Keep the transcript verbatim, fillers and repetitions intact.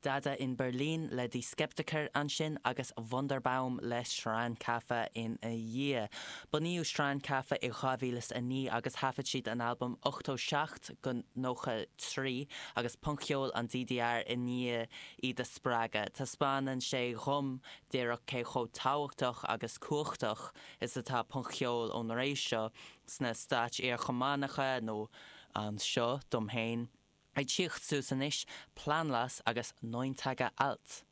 Dada in Berlin le Die Skeptiker ansin agus Wunderbaum le Strandcafé ina dhiaidh. Bunaíodh Strandcafé i dhá mhíle a naoi agus thaifead siad an albam ochtó seacht go nócha trí agus punc-cheol an DDR i ndiaidh iad a spreagadh. Taispeánann sé dhom díreach cé chomh tábhachtach agus cumhachtach is atá punc-cheol ón ré seo sna stáit iar-Chumannacha nó anseo dom féin. Ag tíocht suas anois, Planlos agus Neun Tage Alt.